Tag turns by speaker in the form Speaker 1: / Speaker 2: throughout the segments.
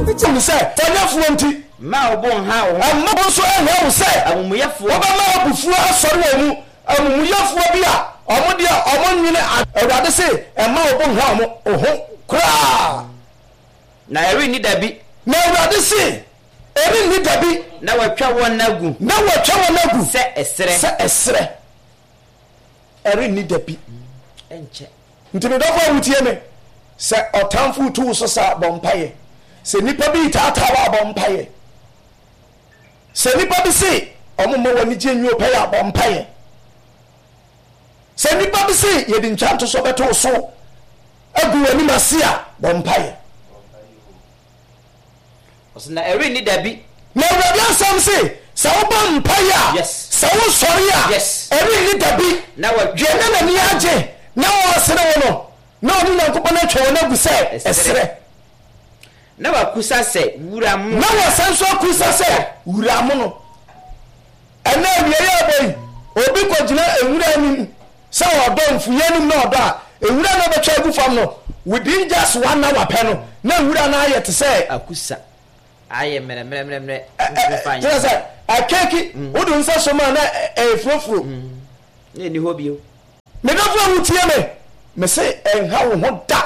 Speaker 1: Hu sɛ bɔneyɛfoɔ nti.
Speaker 2: Mma wo bo nnha wo ho.
Speaker 1: Mma wo nso nnha wo sɛ.
Speaker 2: Amumuyɛfoɔ.
Speaker 1: Wobɛma abufuo asɔre wɔn mu. Amumuyɛfoɔ bi a wɔn deɛ wɔnnwene. Awurade se, Mma wo bo nnha wɔn ho koraa.
Speaker 2: Na ɛrenni da bi.
Speaker 1: Na Awurade se, Ɛrenni da bi.
Speaker 2: Na wɔatwa wɔn agu.
Speaker 1: Na wɔatwa wɔn agu.
Speaker 2: Sɛ ɛserɛ.
Speaker 1: Sɛ ɛserɛ. Ɛrenni da bi.
Speaker 2: Ɛnkyɛ.
Speaker 1: Nti me dɔfo a wotie me, sɛ ɔtamfo retu wo so sa a, bɔ mpaeɛ. Sɛ nnipa bi retaataa wo a, bɔ mpaeɛ. Sɛ nnipa bi se wɔn mma w'anigye nwi wo pɛyɛ a, bɔ mpaeɛ. Sɛ nnipa bi se yɛde ntwa ntosoɔ bɛto wo so agu w'anim ase a, bɔ mpaeɛ.
Speaker 2: Ɔse na ɛrenni da bi.
Speaker 1: Na Awurade asɛm se, sɛ wobɔ mpaeɛ a,
Speaker 2: Yes.
Speaker 1: sɛ wosɔre a,
Speaker 2: Yes.
Speaker 1: ɛrenni da bi.
Speaker 2: Na watwa.
Speaker 1: Deɛ na n'ani agye na ɔresere wo no, na ɔne Nyankopɔn atwa wɔn agu sɛ
Speaker 2: Ɛserɛ.
Speaker 1: ɛserɛ.
Speaker 2: Na wakusa sɛ wura mono.
Speaker 1: Na wasan nso akusa sɛ wura mono. Ɛnnɛ awiei a ɛbɔ yi, obi kɔgyina nwura anim sɛ ɔdɔ mfuiɛ anim na ɔdɔ a, nwura no a ɔbɛtwa agu fam no, within just one hour pɛ no, na nwura no ayɛ te sɛ.
Speaker 2: Akusa. Ayɛ mmerɛmmerɛmmerɛmmerɛ. Wontumi mfa nyɛ
Speaker 1: Kyerɛ sɛ, akeeki, wode wo nsa sɔ mu a na ɛyɛ furofuro.
Speaker 2: Na ɛnni hɔ bio.
Speaker 1: Me dɔfo a wotie me, mese ɛnha wo ho da.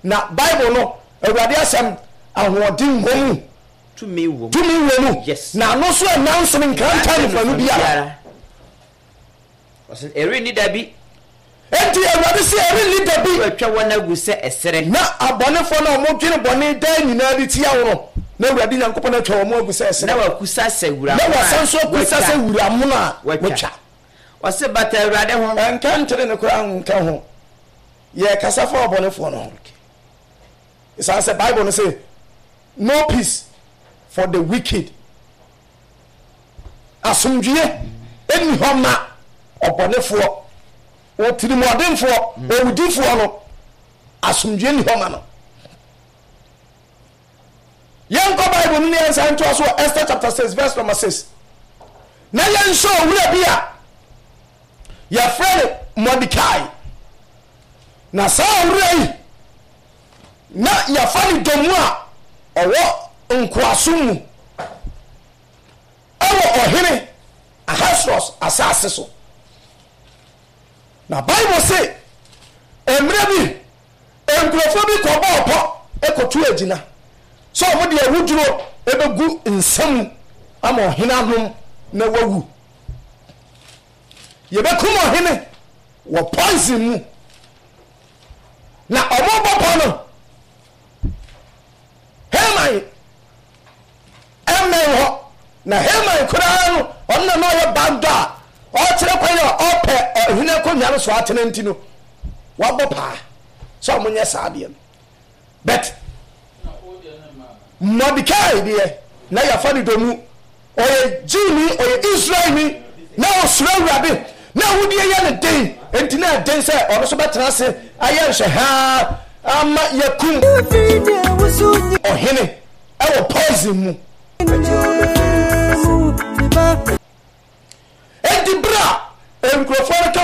Speaker 1: Na Bible no, Awurade asɛm, ahoɔden wɔ mu.
Speaker 2: Tumi wɔ mu.
Speaker 1: Tumi wɔ mu.
Speaker 2: Yes.
Speaker 1: Na ano nso ɛnna nsono nkrantɛ anofanu biara.
Speaker 2: Ɔsɛ ɛrenni da bi.
Speaker 1: Enti Awurade se ɛrenni da bi.
Speaker 2: Wɔatwa wɔn agu sɛ ɛserɛ.
Speaker 1: Na abɔnefoɔ no a wɔdwene bɔne daa nyinaa de tia wo no, na Awurade Nyankopɔn atwa wɔn agu sɛ ɛserɛ.
Speaker 2: Na wɔakusa sɛ wura mono a
Speaker 1: Na wɔasan nso akusa sɛ wura mono a wɔatwa.
Speaker 2: Ɔse bata Awurade ho.
Speaker 1: Ɛnka ntere no koraa nka ho. Yɛrekasa fa ɔbɔnefoɔ no ho. Ɛsiane sɛ Bible no se, No peace for the wicked. Asomdwoeɛ nni hɔ ma ɔbɔnefoɔ, otirimuɔdenfoɔ, owudifoɔ no, asomdwoeɛ nni hɔ ma no. Yɛnkɔ Bible no ne yɛnsan ntoa so wɔ Esther chapter 6 verse number 6. Na yɛnhyɛ owura bi a yɛfrɛ no Mordecai. Na saa owura yi na yɛafa no dɔm a ɔwɔ nkoasom mu wɔ ɔhene Ahasweros asase so. Na Bible se, mmerɛ bi nkurɔfoɔ bi kɔbɔɔ pɔ kɔtu agyina sɛ wɔde awuduro bɛgu nsa mu ama ɔhene anom na wawu. Yɛbɛkum ɔhene wɔ poison mu. Na wɔrebɔ pɔ no, Haman mmɛn hɔ. Na Haman koraa no, ɔno na na ɔyɛ bandɔ a ɔrekyerɛ kwan a ɔpɛ ɔhene akonnwa no so atena nti no, wabɔ paa sɛ wɔnyɛ saa adeɛ no. But Mordecai deɛ, na yɛafa no domu. Ɔyɛ Jewni, ɔyɛ Israelni, na ɔsuro Awurade, na awudie yɛ no den, enti na ɛden sɛ ɔno nso bɛtena ase ayɛ nhwɛhaa ama yɛakum ɔhene wɔ poison mu. Enti berɛ a nkurɔfoɔ no ka